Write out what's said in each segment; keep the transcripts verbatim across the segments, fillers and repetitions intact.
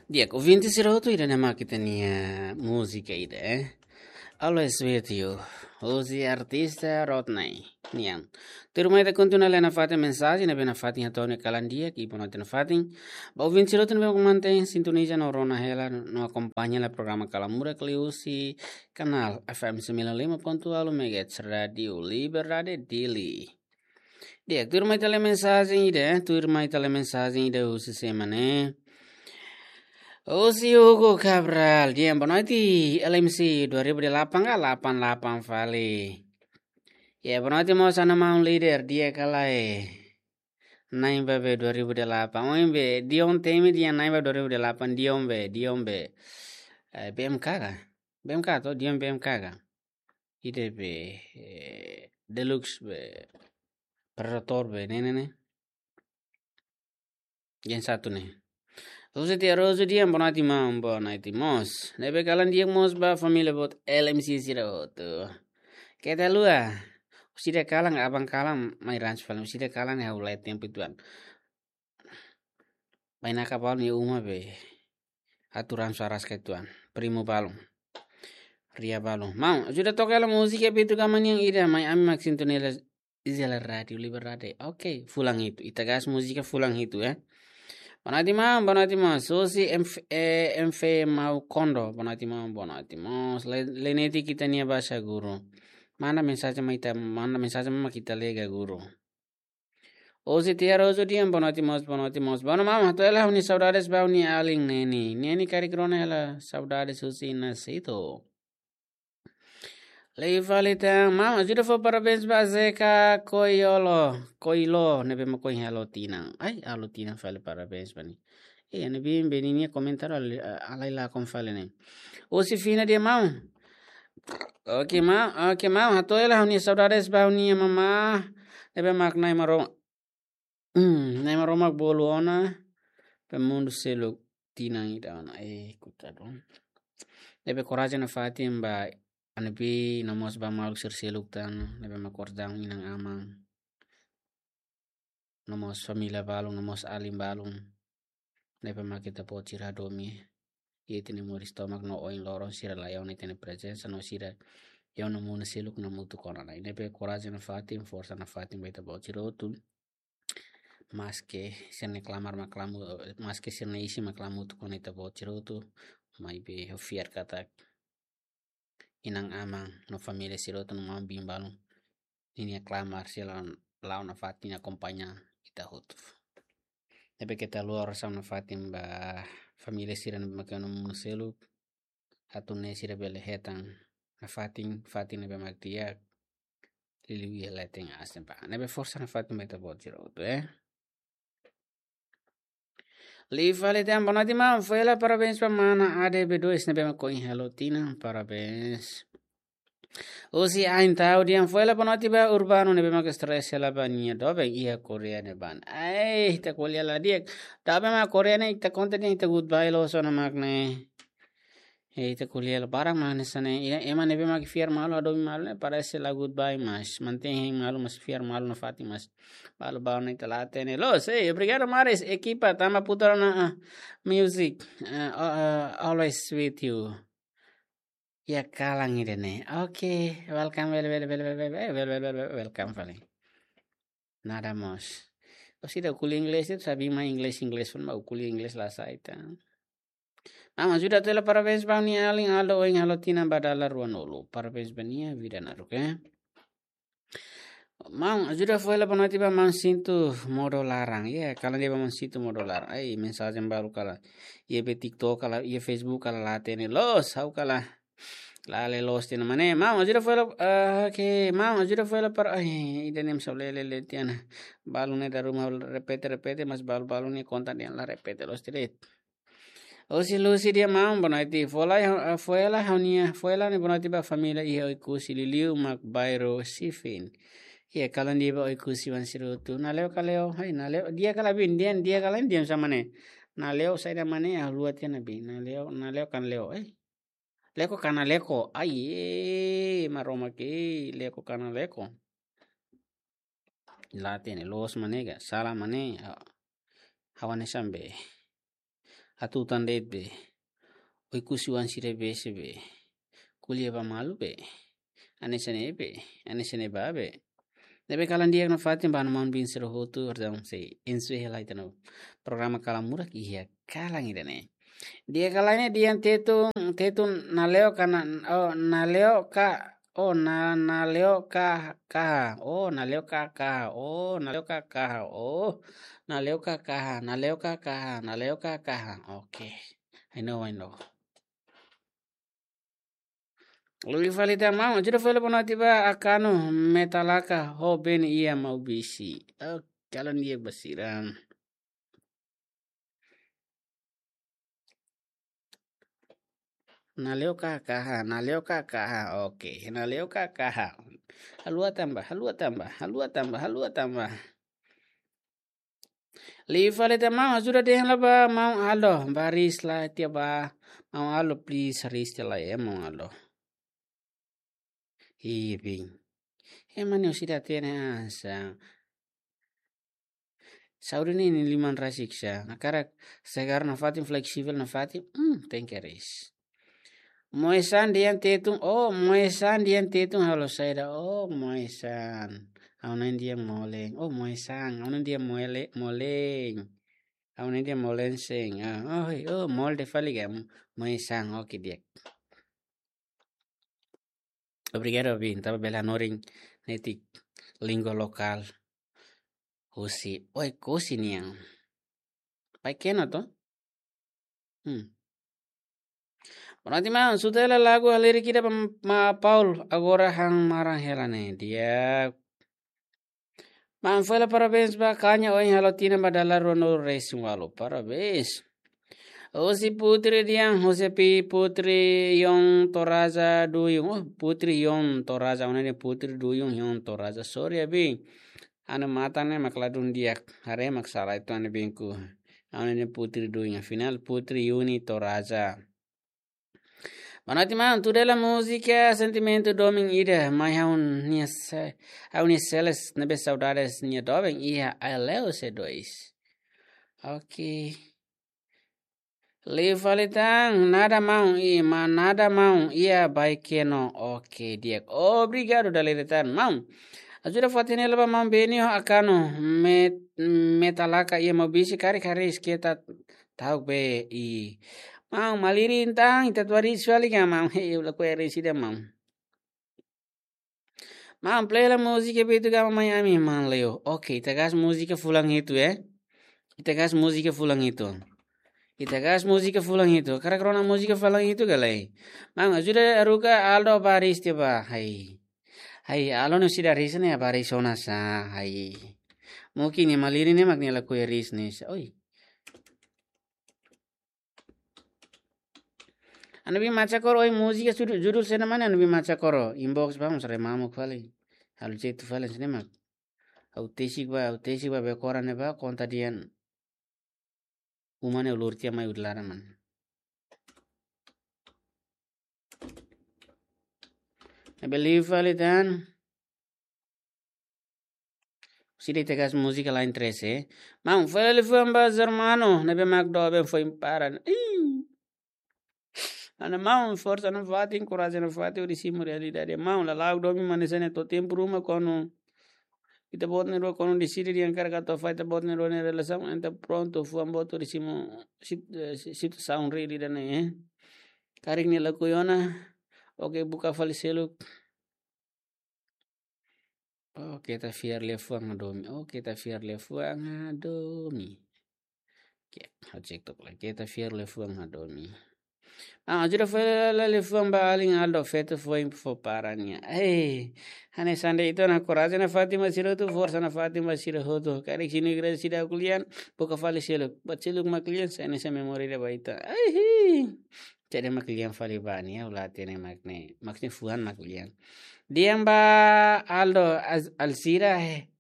Di'ak, ouvinte sira hotu, ida-ne'e mak ita-nia múzika ida, eh. Always with you. Husi artista Rodney nian. Tuirmai ita kontinua lee nafatin mensajen ne'ebé nafatin hato'o nia kalan di'ak, i boa noite nafatin ba ouvinte sira hotu ne'ebé mantein sintoniza no rona hela no akompaña hela programa Kalan Murak liuhusi kanál F M sembilan lima ponto nol megahertz Rádiu Liberdade Dili. Di'ak, tuirmai ita lee mensajen ida, eh, tuirmai ita lee mensajen ida husi sé mak ne'e. Husi Hugo Cabral, di'ak, boa noite, L M C dua ribu delapan ka delapan delapan fali. Ya, boa noite mós ona maun líder, di'ak ka lae? Na'in ba be dua ribu delapan. Oin be, Dion temi di'ak, na'in ba dua ribu delapan, Dion be, Dion be. Eh, B M K ka? B M K to, Dion B M K ka? Ida be, eh, Deluxe be, Predator be, ne'e, ne'e, ne'e. Yang satu ne'e. Husi Tia Rosu, di'ak, boa noite maun, boa noite mós. Ne'ebé kalan di'ak mós ba família boot L M C sira hotu. Keta haluha. Husi ida kalan, aban kalan, mai rans paling. Husi ida kalan ne'e ha'u la'o tempu uitoan. Bainaka balun iha uma be. Atu rans aras ka uitoan. Primo balun. Ria balun. Maun, ajuda toka hela múzika Pitu Kama nian ida, mai ami mak sintoniza hela Rádiu Liberdade. Oke, fulan hitu. Ita gas múzika fulan hitu, eh. Boa noite maun, boa noite maun. Susi M F, eh, M F Mau Kondo. Boa noite maun, boa noite maun. Le-, Leneti, ita-nia bahasa guru. Manda mensajen mai ita, manda mensajen mai ita lee ka guru. Husi Tia Rosu, di'ak, boa noite mós, boa noite mós. Boa noite maun, hato'o hela ha'u-nia saudades ba ha'u-nia alin Neni. Neni karik rona hela saudades husi Nasito. Liu fali tan, maun, ajuda fó parabéns ba Zeka Koiolo, Koilo, ne'ebé mak ohin halo tinan. Ai, halo tinan fali, parabéns ba nia. Eh, ne'ebé, ne'ebé ninia komentáriu ali, a-, halai lakon fali ne'e. Husi Fina, di'ak maun. Oke maun, oke maun, hato'o hela ha'u-nia saudades ba ha'u-nia mamá. Ne'ebé mak Nai Maromak. Hmm, Nai Maromak bolu ona, ba mundu seluk tinan ida ona. Eh, kutadon. Ne'ebé korajen nafatin ba Anebi, no mós ba maluk sira seluk tan, ne'ebé mak kordang inan-aman. No mós família balun, no mós alin balun. Ne'ebé mak ita-boot sira hadomi iha ita-nia moris tomak no ohin loron sira la iha ona ita-nia prezensa no sira iha ona mundu seluk hamutuk ona. Ne'ebé korajen nafatin, forsa nafatin ba ita-boot sira hotu. Maske sira-nia klamar mak klamu, maske sira-nia isin mak klamu hamutuk ona ita-boot sira hotu, maibé ha'u fiar katak inan-aman no família sira hotu no maun-bin balun ninia klamar sira la'o, la'o nafatin akompaña ita hotu. Ne'ebé keta haluha orasaun nafatin ba família sira ne'ebé mak iha ona mundu seluk. Atu nune'e sira bele hetan nafatin, fatin ne'ebé mak di'ak. Liuliu iha leten aas ne'ebá. Ne'ebé forsa nafatin ba ita-boot sira hotu, eh. Liu fali tan, boa noite maun, fó hela parabéns ba mana A D B dois ne'ebé mak ohin halo tinan, parabéns. Husi Ain Tau, di'ak, fó hela boa noite ba Urbano ne'ebé mak stress hela ba nia doben iha Korea ne'ebá. Ai, ita ko'alia la di'ak. Doben mak Korea ne'e ita konta dehan ita goodbye loos ona mak ne'e. Eh, ita ko'alia la barak mak hanesan ne'e. Ema ne'ebé mak fiar malu, hadomi malu ne'e parese la goodbye mas. Mantein hein malu mas fiar malu nafatin mas. Balu balu ne'e ita la hatene. Loos, eh, obrigadu Maris, ekipa, tanba putar ona, ah, music. Ah, oh, ah, always with you. Iha kalan ida-ne'e. Oke, welcome, wel, wel, wel, wel, wel, wel, wel, wel, wel, welcome fali. Nada mós. Husi ida ko'alia inglés, ita sabi mai inglés, inglés, pun mau ko'alia inglés la sai tan. Maun, ajuda hato'o hela parabéns ba ha'u-nia alin Aldo ohin halo tinan ba dala ruanulu. Parabéns ba nia, vida naruk, eh. Maun, ajuda fó hela boa noite ba maun Sintu modo laran. Ya, kalan di'ak ba maun Sintu modo laran. Ai, mensajen balu kalan. Iha be TikTok kalan, iha Facebook kalan la hatene. Loos, ha'u kalan. La lee loos tiha ona mak ne'e. Maun, ajuda fó hela, ah, oke. Maun, ajuda fó hela para, ai, ida-ne'e mós ha'u lee, lee, lee tiha ona. Balu ne'e dala ruma repete, repete, mas balu, balu ne'e konta dehan la repete loos tiha de'it. Husi Lucy, di'ak maun, boa noite. Fó hela, ah, fó hela ha'u-nia, fó hela ne'e boa noite ba família iha Oekusi, liuliu mak bairru Sifin. Iha kalan di'ak ba Oekusi-oan sira hotu. Naleo ka leo, hai, naleo, di'ak ka lae, bin, di'ak, di'ak ka lae, di'ak sama ne'e. Naleo saida mak ne'e, ah, luat ya nabi. Naleo, naleo ka naleo, eh. Leko ka naleko, ai, eh, Maromak, leko ka naleko. La hatene, loos mak ne'e ka, sala mak ne'e, ah, ha'u hanesan be. atu tan de'it be. Oe kusi wan sira be se be. Kulia ba malu be. Ane sene be. Ane sene ba be. Ne'ebé kalan di'ak nafatin ba ha'u-nia maun-bin sira hotu, entaun sei ensu hela ita-nia programa Kalan Murak iha kalan ida-ne'e. Di'ak ka lae ne'e, di'ak Tetun, Tetun nale'o ka na, oh, nale'o ka, oh, na, nale'o ka, kaha, oh, nale'o ka, kaha, oh, nale'o ka, kaha, oh, nale'o ka, kaha, nale'o ka, kaha, nale'o ka, kaha. Oke. I know, I know. Liu fali tan maun, ajuda fali ba ha'u atu ba Akanu Metalaka ho Ben iha Maubisse. Oh, kalan di'ak ba sira. Nale'o ka kaha, nale'o ka kaha. Oke, nale'o ka kaha. Haluha tan ba, haluha tan ba, haluha tan ba, haluha tan ba. Liu fali tan maun, ajuda dehan lai ba maun Aldo, ba Riz la tiha ba. Maun Aldo, please, Riz tiha lai, eh, maun Aldo. Ih, bin. Ema ne'e sira hatene hanesan. Saúde ne'e nia liman rasik sá. Hakarak segar nafatin, fleksivel nafatin. Hmm, tenke Riz. Moe-san dehan Tetun, oh, Moe-san dehan Tetun halo saida, oh, Moe-san. Ha'u na'in dehan Molen, oh, Moe-san, ha'u na'in dehan Mole-, Molen. Ha'u na'in dehan Molen sen, ah, oh, oh, molde fali ka, Moe-san, oke, di'ak. Obrigadu, bin, tanba bele hanorin netik língua lokál. Husi, oe, husi nian. Pai kena to? Hmm. Bonoati maun, suta hela lagu halerik ida ba maun Paul, agora han maran hela ne'e. Di'ak. Maun, fó hela parabéns ba Kanya, ohin halo tinan ba dala ruanulu-resin-ualu. Parabéns. Husi Putri Dian, husi Pi Putri Yon Toraza Duyun. Oh, Putri Yon Toraza, ha'u-nia Putri Duyun Yon Toraza. Sorry, abi. Ha'u-nia matan ne'e mak ladún di'ak, haree mak sala uitoan ne'e binku. Ha'u-nia Putri Duyun, afinál Putri Yuni Toraza. Bonoati maun, tuda hela múzika Sentimentu domin ida, mai ha'u-nia se-, ha'u-nia seles ne'ebé saudades nia doben iha Aileu C dois. Oke. Liu fali tan, nada maun, i ma nada maun, iha Baikeno. Oke, di'ak. Obrigadu dala ida tan, maun. Ajuda fatin hela ba maun Benio Akanu, Met-, Metalaka iha Maubisse, karik Riz keta ta'uk be i. Maun, malirin tan, ita atu Riz fali ka maun. Hei, lakohi Riz ida maun. Maun, play hela múzika Beto Gama Miami, maun Leo. Oke, ita gas múzika fulan hitu, eh. Ita gas múzika fulan hitu. Ita gas múzika fulan hitu. Hakarak rona múzika fulan hitu ka lae. Maun, ajuda haruka Aldo ba Riz tiha ba. Hai. Hai, Aldo ne'e sira Riz ne'e ba Riz ona sá. Hai. Mungkin nia malirin ne'e mak nia lakohi Riz ne'e sá. Oi. Ha'u-nia bin Macha Koro, oi, múzika judul, judul saida mak ne'e ha'u-nia bin Macha Koro. Inbox ba, mós haree mamuk fali. Halo jeitu fali, sini mak. Ha'u tesik ba, ha'u tesik ba, be koran ne'e ba, konta dehan uma ne'e ulur tiha mai udalara mak ne'e. Ne'ebé liu fali tan. Sira ita gas múzika lain trese. Maun, fó hela liafuan ba Germano, ne'ebé mak doben foin para. Ih. Ha'u-nia maun, forsa nafatin, korajen nafatin, hodi simu realidade. Maun, lala'ok domin mak hanesan ne'e to'o tempu ruma kuandu ita-boot na'in-rua kuandu deside dehan hakarak atu afasta ita-boot na'in-rua nia relasaun, entaun prontu, fuan boot hodi simu sit-, eh, si-, situasaun realidade ne'e, eh. Karik nia lakohi ona, oke, buka fali seluk. Oh, keta fiar liafuan hadomi. Oh, keta fiar liafuan hadomi. Oke, ha'u cek tok lai. Keta fiar liafuan hadomi. Ah, ajuda fó hela liafuan ba alin Aldo, feto foin fó para nia. Eh, hanesan de'it ona, korajen nafatin ba sira hotu, forsa nafatin ba sira hotu. Karik sini kira sida ko'alia, buka fali seluk. Buat seluk mak ko'alia, sai hanesan memória ida ba ita. Ai, hi. Jadi mak ko'alia fali ba nia, ha'u la hatene mak ne'e. Mak ne'e fuan mak ko'alia. Dehan ba Aldo, Az-, Alzira, eh.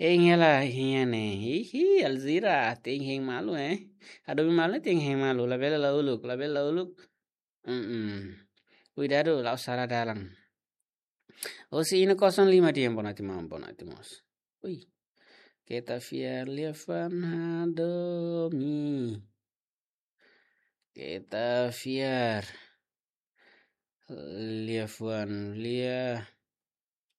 Hein hela, hein ne'e. Hihi, Alzira, tenke hein malu, eh. Hadomi malu, tenke hein malu. Labele la uluk, labele la uluk. Mm-mm. Kuidadu, la'o sala dalan. Husi Ina kosong lima dehan, bonoati maun, bonoati mós. Ui. Keta fiar liafuan hadomi. Ita fiar. Liafuan lia.